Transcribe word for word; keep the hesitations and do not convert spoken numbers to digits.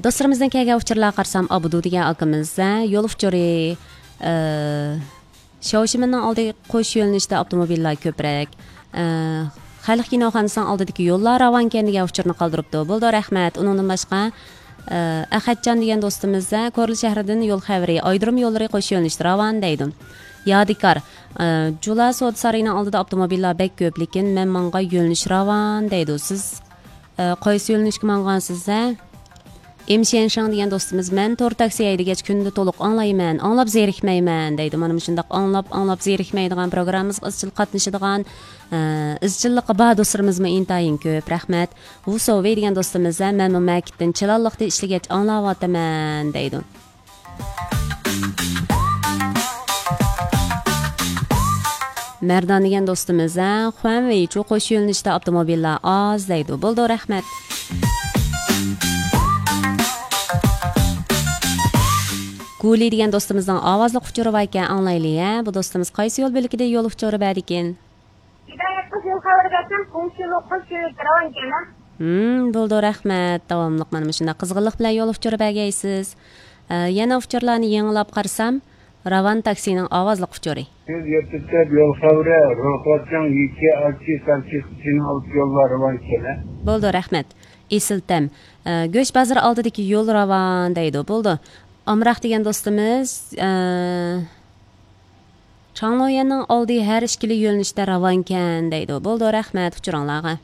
دوستلىرىمىزدىن كەلگەن ئۇچۇرلارغا قارىسام، ئابدۇ دېگەن ئاكىمىز، ھە، يول ئۇچۇرى، ئە، شياۋشىمىننىڭ ئالدى قوش يۆنىلىشتە ئاپتوموبىللار كۆپرەك. ئە، خەلق كىنوخانىسىنىڭ ئالدىدىكى يوللار راۋانكەن دېگەن ئۇچۇرنى قالدۇرۇپتۇ. بولدى، رەھمەت. ئۇنىڭدىن باشقا، ئە، ئەخەتجان دېگەن دوستىمىز، ھە، كورلا شەھىرىدىن يول خەۋىرى، ئايرودروم يوللىرى قوش يۆنىلىشتە راۋان دەيدۇ. يادىكار، ئە، جۇلا سودا سارىيىنىڭ ئالدىدا ئاپتوموبىللار بەك كۆپ، لېكىن مەن ماڭغان يۆنىلىش راۋان دەيدۇ. سىز ئە، قايسى يۆنىلىشكە ماڭغانسىز، ھە؟ ئىم شيەنشىڭ دېگەن دوستىمىز، مەن تور تاكسى ھەيدىگەچ كۈندە تولۇق ئاڭلايمەن، ئاڭلاپ زېرىكمەيمەن دەيدۇ. مانا مۇشۇنداق ئاڭلاپ، ئاڭلاپ زېرىكمەيدىغان، پروگراممىمىزغا ئىزچىل قاتنىشىدىغان، ئە، ئىزچىللىقى بار دوستلىرىمىزمۇ ئىنتايىن كۆپ. رەھمەت. ۋۇ سوۋېي دېگەن دوستىمىز، ھە، مەنمۇ مەكىتتىن چىلانلىقتا ئىشلىگەچ ئاڭلاۋاتىمەن دەيدۇ. مەردان دېگەن دوستىمىز، ھە، خۇەنۋېيچۇ قوش يۆنىلىشتە ئاپتوموبىللار ئاز دەيدۇ. بولدى، رەھمەت. گۇلى دېگەن دوستىمىزنىڭ ئاۋازلىق ئۇچۇرى باركەن، ئاڭلايلى، ھە. بۇ دوستىمىز قايسى يول بۆلىكىدە يول ئۇچۇرى بەردىكىن؟ ھىدايەت قىز يول خەۋىرى بەرسەم، قومشى يول قوش يۆنىلىشتە راۋانكەن، ھە. ھىم، بولدى، رەھمەت. داۋاملىق مانا مۇشۇنداق قىزغىنلىق بىلەن يول ئۇچۇرى بەرگەيسىز. ئە، يەنە ئۇچۇرلارنى يېڭىلاپ قارىسام، راۋان تاكسىنىڭ ئاۋازلىق ئۇچۇرى. سىز يەتتە يول خەۋىرى، روخوچياڭ، يىچى، ئاچى، سارچى، سىچىنىڭ ئالدى يوللار راۋانكەن، ھە. بولدى، رەھمەت. ئېسىل تەم. ئە، گۆش بازىرى ئالدىدىكى يول راۋان دەيدۇ. بولدى. ئامراق دېگەن دوستىمىز، ئە، چاڭلويەننىڭ ئالدى ھەر ئىككىلا يۆنىلىشتە راۋانكەن دەيدۇ. بولدى، رەھمەت ئۇچۇرۇڭلارغا.